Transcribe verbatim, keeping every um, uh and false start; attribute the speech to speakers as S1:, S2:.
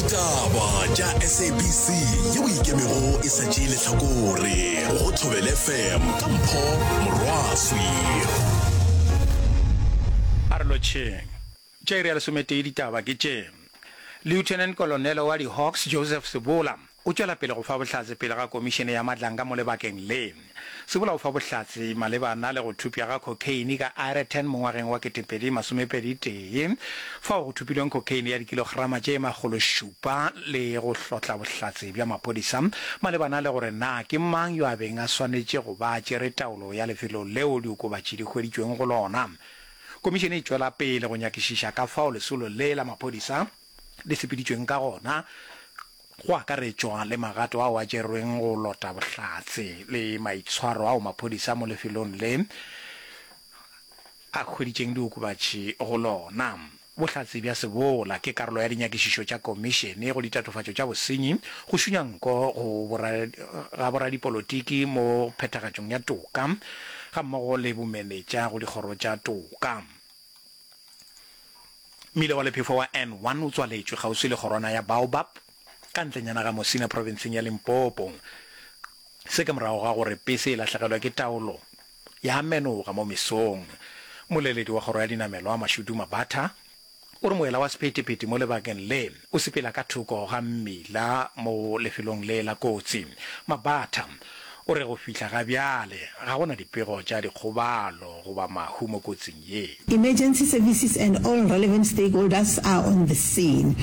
S1: Ditaba tša S A B C yeo ikemego e sa tšee lehlakore go Thobela F M ka Mpho Morwaswi.
S2: A re lotšheng. Tša iri ya lesometee ditaba ke tše. Lieutenant Colonel wa di-Hawks Joseph Sebola o tšwela pele go fa bohlatse pele ga komišene ya Madlanga mo lebakeng le. Sebola o fa bohlatse malebana le go thupša ga cocaine ka Aeroton mo ngwageng wa ketepedi masomepedi tee, fao go thupilweng cocaine ya dikilograma tše makgolo šupa le go hlotla bohlatse bja maphodisa malebana le gore na ke mang yo a beng a swanetše go ba a tšere taolo ya lefelo leo diokobatši di hweditšweng go lona. Komišene e tšwela pele go nyakišiša ka fao lesolo le la maphodisa le sepeditšweng ka gona, go akaretšwa le magato ao a tšerweng go lota bohlatse le maitshwaro ao maphodisa mo lefelong le a hweditšeng diokobatši go lona. Bohlatse bja Sebola ke karolo ya dinyakišišo tša komišene go ditatofatšo tša bosenyi, go šunya nko go ga boradipolotiki mo phethagatšong ya toka gammogo le bomenetša go dikgoro tša toka. Mmila wa lephefo wa N one o tswaletšwe kgauswi le kgorwana ya Baobab ka ntlenyana ga Musina profenseng ya Limpopo. Se ke morago ga gore pese e lahlegelwe ke taolo ya menoga mo mesong. Mmoleledi wa kgoro ya dinamelwa Mashudu Mabatha o re moela wa sephethephethe mo lebakeng le o sepela ka thoko ga mmila mo lefelong le la kotsi. Mabatha o re go fihla ga bjale ga go na dipego tša dikgobalo goba mahu mo kotsing ye.
S3: Emergency services and all relevant stakeholders are on the scene.